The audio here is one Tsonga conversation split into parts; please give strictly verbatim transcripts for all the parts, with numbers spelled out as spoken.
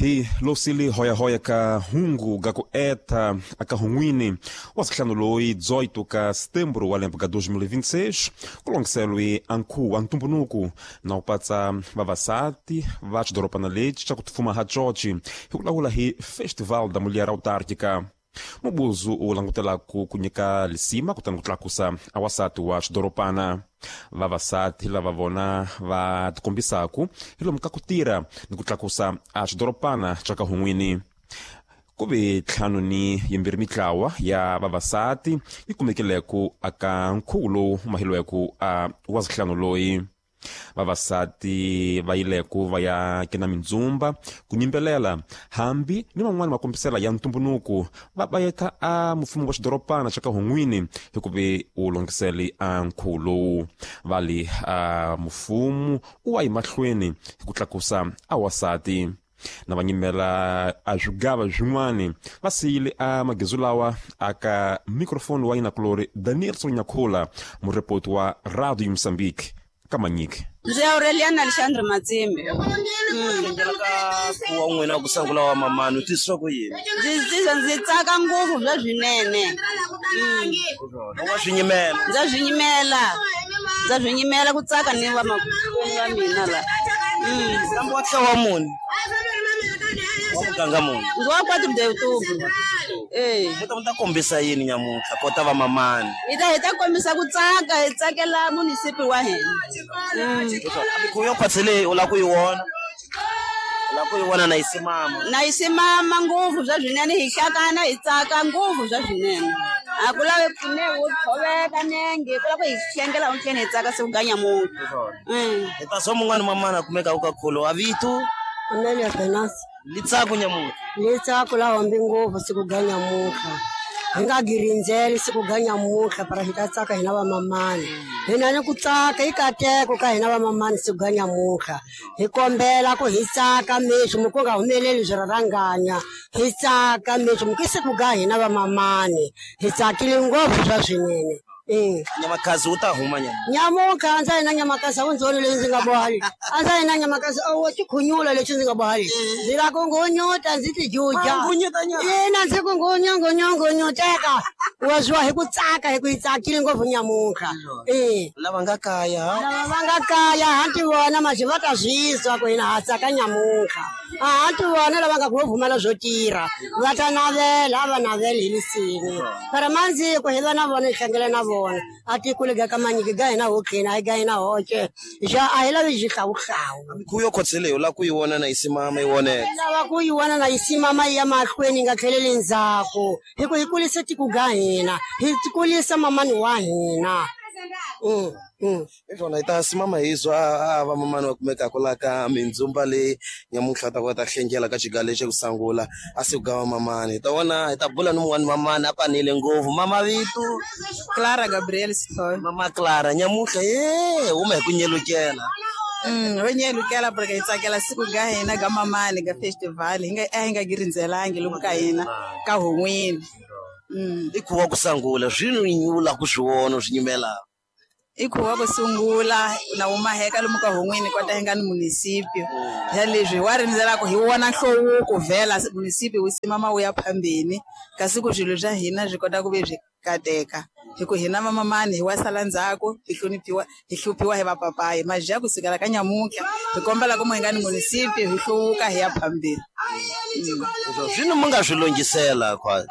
Hi losili hoya-hoya ka hungu ga ku eta aka hunguini wasihlanu loyi dezoito ka setembro wa lembe ka dois mil e vinte e seis kulongiselo i anku antumbunuku na upatsa vavasati va xidorobana lexi xa ku tifuma ha George hi vulavula hi Festival da Mulher Autárquica. Mubuzu u langutelaku ku nyika lisima kutani ku tlakusa awasati wa xidorobana. Vavasati lava vona va tikombisaku hi lomu ka ku tirha ni ku tlakusa a xidorobana xa ka hun'wini. Ku ve ntlhanu ni yimbirhi mitlawa ya vavasati yi kumekileku aka nkhuvo lowu mahilweku a wa zihlanu loyi. Vavasati va yileku va ya kena mindzumba ku nyimbelela hambi ni van'wani makombisela ya ntumbunuku va bayeta a mfumo wa xidorobana xa ka hun'wini hikuva u longisele a nkhuvo lowu. Va li a mfumo u wa yi mahlweni hi ku tlakusa a wasati na va nyimela a swigava swin'wani va siyile a magezu lawa aka microphone wa yinakulori Daniel Sonyakhula murepoti wa Radio Mozambique Kamanyiki. Ndzi Aureliana Alexandre Matsimbi. Ka wa n'wina ku sungula wa mamani u twisisa ku yini? Ndzi ndzi tsaka ngopfu bya swinene. Wa swi nyimela. Ndza swi nyimela. Ndza swi nyimela ku tsaka ni va makwenu va mina la. Kambe wa tlawa muni? Wa muganga muni? Ndzi wa quatro de outubro. Eh. Mi ta mi ta kombisa yini nyamuntlha kota va mamani? Hi ta hi ta kombisa ku tsaka, hi tsakela munisipi wa hina. Mikhuvo yo khwatsi leyi u lava ku yi vona? U lava ku yi vona na yi simama? Na yi simama ngopfu bya swinene, hi hlakana hi tsaka ngopfu bya swinene. A ku lavi pfune wo tshoveka nenge, ku lava ku hi hlengela untlheni hi tsaka siku ga nyamuntlha. Hi ta swa mun'wani mamani a kumeka ka kholo a vito? Amelia Venance. Litsako nyamuntlha. Litsako la hombi ngopfu siku ga nyamuntlha. Hi nga girindzeli siku ga nyamuntlha para hi ta tsaka hina vamamani. Hina ni ku tsaka i kateko ka hina vamamani siku ga nyamuntlha. Hi kombela ku hi tsaka mexo mi ku nga humeleli swirharanganya. Hi tsaka mexo mi ku siku ga hina vamamani. Hi tsakile ngopfu swa swinene. Eh. Nyamakazi u ta huma nyama. Nyamuntlha a ndza yina nyamakazi a wu ndzi voni leyi ndzi nga boha leyi. A ndza yina nyamakazi a wo tikhunyula lexi ndzi nga boha leyi. Ndzi la ku ngunyuta ndzi ti juja. Ina ndzi ku ngunya ngunya ngunyuteka. Wa zwiwa hi ku tsaka hi ku hi tsakile ngopfu nyamuntlha. Eh. Lava nga kaya. Lava va nga kaya ha ti vona maxi va ta swi twa ku hina ha tsaka nyamuntlha. A ha ti vona lava nga ku pfumala swo tirha. Va ta navela a va naveli hi lisini. Para mandziko hi va na vona hi hlangela na vona. A tikule ga ka manyiki ga hina ho qina ga hina hoxe. Ja a hi lavi xihlawuhlawu. Mikhuvo yo khwatsi leyi u lava ku yi vona na yi simama yi voneka. Lava ku yi vona na yi simama yi ya mahlweni yi nga tlheleli ndzhaku. Hi ku hi kulisa tiko ga hina, hi kulisa mamani wa hina. Mm, mm. Hi swona hi ta simama hi zwa a va mamani va kumekaka la ka mindzumba leyi nyamuntlha ta kota hlengela ka xiga lexi ku sungula a siku ga va mamani. Hi ta vona hi ta bula ni mun'wani mamani a panile ngopfu. Mama vito? Clara Gabriel Sithole. Mama Clara nyamuntlha ye huma hi ku nyelukela. Mm, ho nyelukela porque hi tsakela siku ga hina ga mamani ga festival hi nga a hi nga girindzelangi lomu ka hina ka hun'wini. Mm. I khuva ku sungula swi nyula ku swi vona swi nyimela. I khuva ku sungula na wu maheka lomu ka hun'wini kota hi nga ni munisipio. Ya leswi wa rindzela ku hi vona nhluvuko vhela munisipio wu simama wu ya phambeni kasi ku swilo swa hina swi kota ku ve swi kateka. Hi ku hina vamamani hi wa sala ndzhaku hi hloniphiwa hi hluphiwa hi vapapayi maja ku sukela ka nyamuntlha hi kombela ku mu hi nga ni munisipio hi hluvuka hi ya phambeni. Swino mi nga swi lunghisela khwa.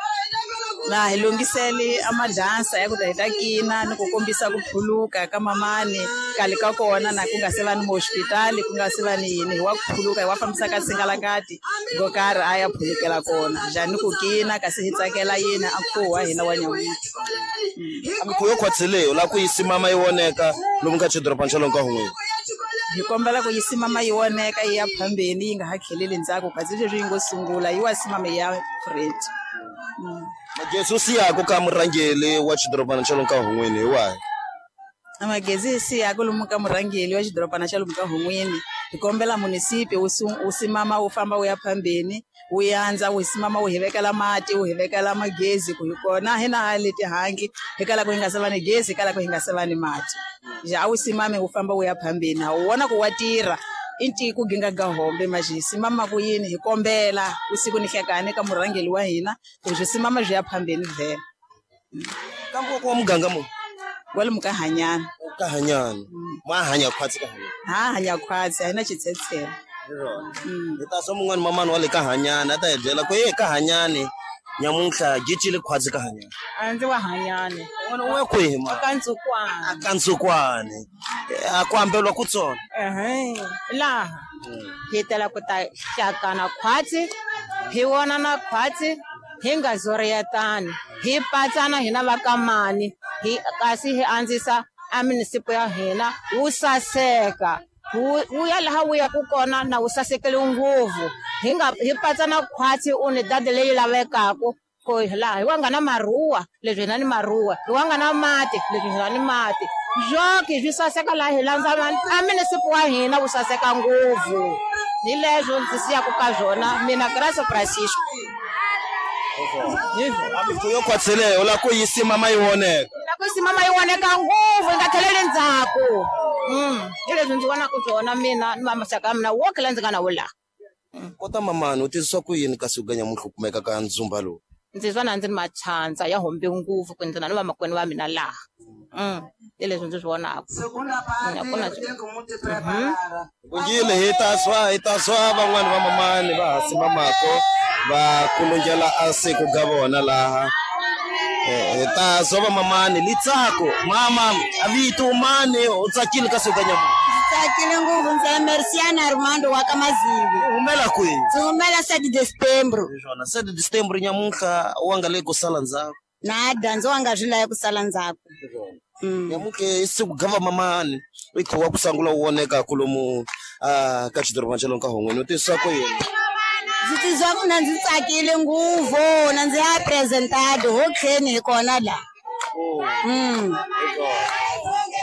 Na hi lunghisele a madansa ya ku ta hi ta kina ni ku kombisa ku phuluka ka mamani kale ka kona na ku nga se va ni hospitali ku nga se va ni yini hi wa ku phuluka hi wa fambisa ka singalakati go karhi a ya phulukela kona njhani ku kina kasi hi tsakela yena a nkhuvo wa hina wa nyamuntlha. Mikhuvo yo khwatsi leyi u lava ku yi simama yi voneka lomu ka xidorobana xa lomu ka hun'wini. Hi kombela ku yi simama yi voneka yi ya phambeni yi nga ha tlheleli ndzhaku kasi leswi yi ngo sungula yi wa simama yi ya Fred. Magezi u siyaku ka murhangeri wa xidorobana xa lomu ka hun'wini hi wahi? Magezi hi siyaku lomu ka murhangeri wa xidorobana xa lomu ka hun'wini hi kombela munisipi wu wu simama wu famba wu ya phambeni wu yandza wu simama wu hi vekela mati wu hi vekela magezi ku hi kona hina ha le tihangi hi kala ku hi nga se va ni gezi hi kala ku hi nga se va ni mati. Ja a wu simame wu famba wu ya phambeni ha wu vona ku wa tirha I ntiko ginga ga hombe mas hi simama ku yini hi kombela usiku ni hlekane ka murhangeli wa hina ku swi simama byi ya phambeni vhela. Kambe ku wa muganga mu kwalomu ka Hanyana. Ka Hanyana ma hanya khwatsi ka Hanyana. Ha hanya khwatsi a hi na xitshetshela. Hi ta swa mun'wani mamani wa le ka Hanyana a ta hi byela ku e ka Hanyani nyamuntlha gicile khwatsi ka Hanyana. A ndzi wa Hanyane. Wena u ya kwihi ma? Ka Ntsukwana. A ka Ntsukwane. A ku ambelwa ku tsona. Ehe. Laha hi tela ku ta hlakana khwatsi, hi vonana khwatsi, hi nga zoriyetani, hi patsana hina va ka mani, hi kasi hi andzisa a munisipo ya hina wu saseka. Wu ya laha wu yaku kona na wu sasekele ngopfu. Hi nga hi patsana khwatsi u ni dadi leyi lavekaku ku laha hi wa nga na maruwa leswi hina ni maruwa, hi wa nga na mati leswi hina ni mati. Joki swi saseka laha hi landza a munisipo wa hina wu saseka ngopfu. Hi leswo ndzi siyaku ka swona mina Graça Francisco. Yo khwatseleyo u lava ku yi simama yi voneka. La ku simama yi voneka ngopfu yi nga tlheleli ndzhaku. Hi leswi ndzi vonaka swona mina ni maxaka ya mina woke la ndzi nga na wo laha. Kota mamani u tizwa ku yini kasi u nyamuntlha u kumeka ka ndzumba lowu? Ndzi twa na ndzi ri machandza ya hombe ngopfu ku ndzi na ni vamakwenu va mina laha. Hi leswi ndzi swi vonaka. Kungile hi ta swa hi ta swa van'wani va mamani va ha simamako va kulungela a siku ga vona laha. Hi ta swa va mamani litsako mama a vito mani u tsakile ka siku ga nyamuntlha. Tsakile ngopfu ndzi Merciana Armando wa ka Mazivi. U humela kwihi? Ndzi humela sete de setembro. Swona sete de setembro nyamuntlha wa nga le ku sala ndzhaku. Nada ndzi wa nga swi lavi ku sala ndzhaku. Nyamuntlha i siku ga va mamani i kho wa ku sangula wu voneka kulomu a ka xidorobana xa lomu ka Hongweni u tizwa ku yini? Ndzi tizwa ku na ndzi tsakile ngopfu na ndzi apresentado ho tlheni hi kona laha. Mm.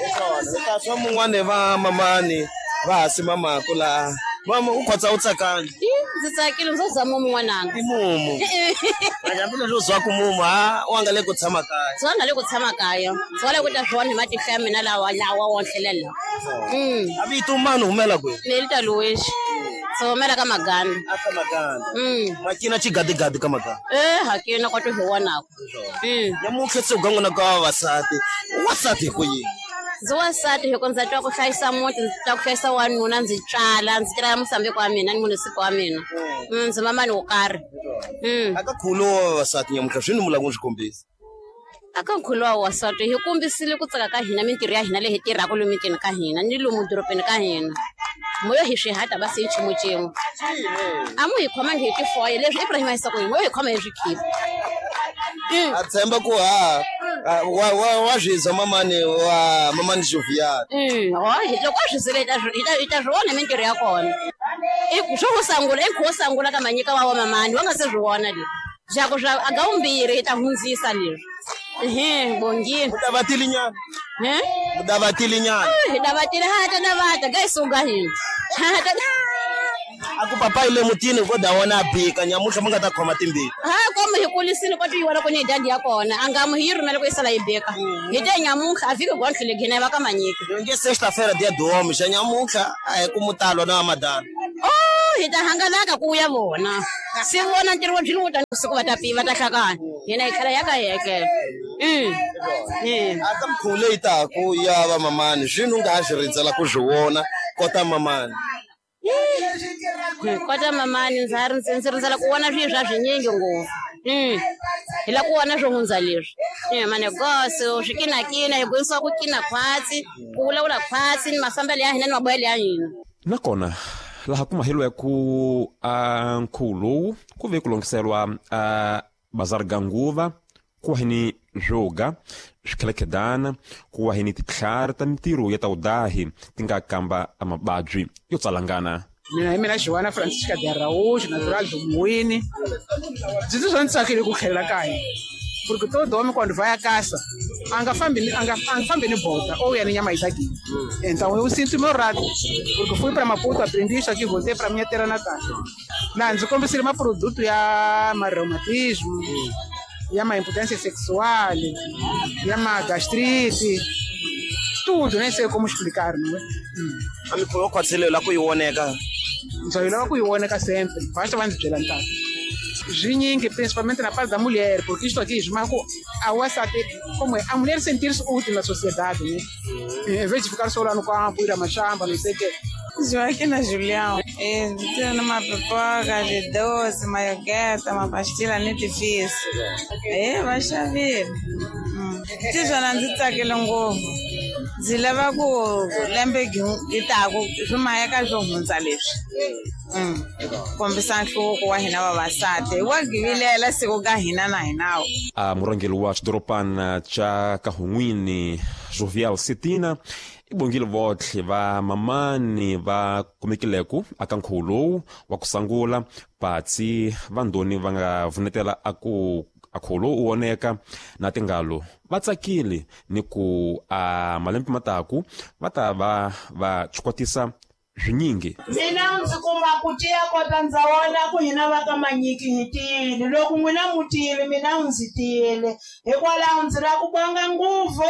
Hi ta swa mun'wani va mamani va ha simamako laha. Mama u khotsa u tsakangi? Ndzi tsakile ndzi za mumu n'wananga. I mumu. Hambileswi u zwaku mumu ha wa nga le ku tshama kaya. Ndzi wa nga le ku tshama kaya. Ndzi wa le ku ta swona hi matihlo ya mina lawa lawa wonhlelela. Mm. A vito mani humela kwihi? Nelita Luiz. Ndzi humela ka Maganda. A ka Maganda. Mm. Makina xigadigadi ka Maganda. Eh, hakina kwa tu hi vonaka. Mm. Nyamuntlha se u ga n'wina ka vavasati. Wasati hi ku yini? Ndzi wansati hi ku ndza twa ku hlayisa muti, ndzi twa ku hlayisa wanuna, ndzi tswala, ndzi tirhela Mosambiki wa mina ni munisipo wa mina. Ndzi mamani wo karhi. A ka nkhuvo wa vavasati nyamuntlha swi ni mu lava ku swi kombisa? A ka nkhuvo wa vavasati hi kombisile ku tsaka ka hina mintirho ya hina leyi hi tirhaka lomu mitini ka hina ni lomu dorobeni ka hina. Moyo hi swihata va se nchumu xin'we. A mu hi khomangi hi tifoye leswi Ibrahim a yisa ku yini, moyo hi khoma hi swikhipa. A tshemba ku ha wa wa wa zwizwa mamani wa mamani Jovial. Mm, ho loko a swi zile hi ta hi ta swi vona mintirho ya kona. I swo ku sangula i nkhuvo sangula ka manyika wa wa mamani wa nga se swi vona leswi. Swa ku swa a ga vumbirhi hi ta hundzisa leswi. Ehe, bongile. Mu davatile nyana. He? Mu davatile nyana. Hi davatile ha ta davata ga isuka hina. Ha ta A ku papa ile mutini ko da wona bika nyamuntlha mi nga ta khoma timbili. Ha komu hi kulisile ko tiyiwela ku ni dadi ya kona a nga mu hi rhumela ku yisala yi beka. Hi te nyamuntlha a fiki gondlile gina va ka manyika. Nge sexta-feira dia do homem xa nyamuntlha a hi ku mutalo na madana. Oh, hi ta hangalaka ku ya vona. Si vona ntirho wa byi ta siku va ta piva ta hlakana. Hina hi tlhela ya ka hekela. Mm. Mm. A ka mikhuvo leyi taku ya va mamani swini u nga ha swi rindzela ku swi vona kota mamani. Kota mamani ndza ndzi ndzi rindzela ku vona swilo swa swinyingi ngopfu. Mm. Hi la ku vona swo hundza leswi. Eh manegoso swikinakina hi gwinisiwa ku kina khwatsi, ku vulavula khwatsi ni mafambelo ya hina ni maboyelo ya hina. Nakona laha ku mahelo ku a nkhuvo lowu ku ve ku longhiselwa a bazar ga nguva ku wa ni swoga swikhelekhedana ku wa ni titlhari ta mintirho ya ta wudahi ti nga kamba a mababyi yo tsalangana. Mina hi mina Joana Francisca de Araújo, natural do Muine. Ndzi titwa ndzi tsakile ku tlhelela kaya. Porque todo homem quando vai à caça, anga fambi anga anga ni bota ou ya nyama itaki. Então eu sinto meu rato, porque fui para Maputo, aprendi isso aqui, voltei para minha terra natal. Na ndzi kombisile maproduto ya mareumatismo, ya ma impotência sexual, ya ma gastrite, tudo, nem sei como explicar, não é? Hum. A mikhuvo ya khwatsele la ku yi voneka. Ndza yi lava ku yi voneka sempre, basta va ndzi byela ntata. Zwinyingi, principalmente na parte da mulher, porque isto aqui esmaga a wansati, como é, a mulher sentir-se útil na sociedade, né? Em vez de ficar só lá no campo, ir a machamba, não sei o quê. Joaquina Julião, tenho uma pipoca de doce, uma iogurte, uma pastilha muito difícil. É, vai chover. Tizona ndzi tsakile ngopfu. Ndzi lava ku lembe yi taku swi maheka swo hundza leswi. Kombisa nhluvuko wa hina vavasati wa givilela siku ka hina na hinawo. A murhangeri wa xidorobana xa Kahungwini Jovial Setina i bongile votlhe va mamani va kumekileku aka nkhuvo lowu wa ku sungula patsi va ndoni va nga vunetela a ku a nkhuvo lowu u voneka na tingalo va tsakile ni ku a malembe mataku va ta va va chukwatisa swinyingi. Mina ndzi kuma ku tiya kota ndza wona ku hina va ka Manyiki hi tiyile loko n'wina mu tiyile mina ndzi tiyile hikwalaho ndzi lava ku bonga ngopfu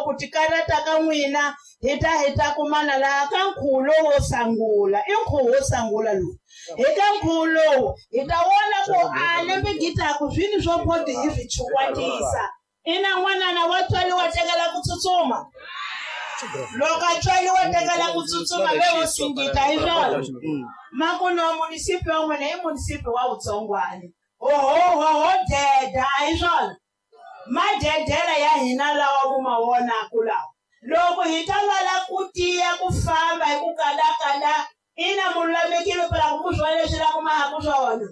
ku tikarhata ka n'wina hi ta hi ta kumana laha ka nkhuvo lowo sungula i nkhuvo wo sungula lowu hi ka nkhuvo lowu hi ta vona ku a lembe gitaku swini swo bodi hi swi chukwatisa ina n'wanana wa tswariwa tekela ku tsutsuma loko a tswariwa tekela ku tsutsuma ve wo singita hi swona makuno munisipi wa n'wina i munisipi wa Vutsongwani ohohoho deda a hi swona madedela ya hina lawa ku ma vonaku lawa loko hi ta lava ku tiya ku famba hi ku kalakala ina mululamekile phela ku mu swona leswi la ku mahaku swona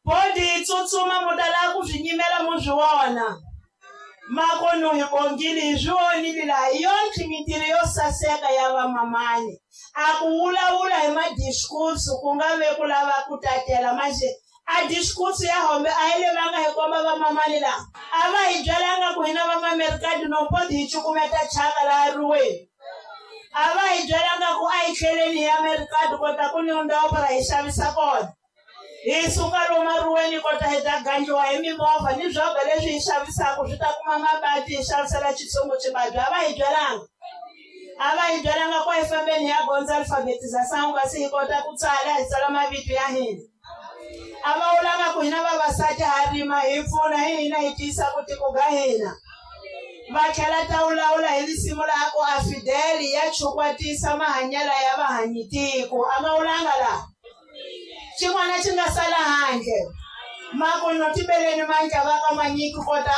bodi yi tsutsuma mu ta lava ku swi nyimela mu swi vona makono hi bongile hi swi vonile laha hi yonke mintirho yo saseka ya vamamani a ku vulavula hi madiskursu ku nga ve ku lava ku tatela manje a diskursu ya hombe a yi levanga hi komba vamamani laha a va hi byelanga ku hina vamamerikati no bodi hi cukumeta chaka laha riweni a va hi byelanga ku a hi tlheleni hi amerikati kota ku ni ndhawu para hi xavisa kona hi suka lomu riweni kota hi ta gangiwa hi mimovha ni swobha leswi hi xavisaka swi ta kuma mabadi hi xavisela xitsongo xibabyi a va hi byelanga a va hi byelanga ku hi fambeni hi ya gondza alfabetização kasi hi kota ku tsala hi tsala mavito ya hina a va vulanga ku hina vavasati ha rima hi pfuna hi hina hi tiyisa ku tiko ga hina va tlhela ta vulavula hi risimu laha ku a Fidel ya chukwatisa mahanyelo ya vahanyitiko a va vulanga laha xin'wana xi nga sala handle makuno tibeleni mandla va ka Manyiki kota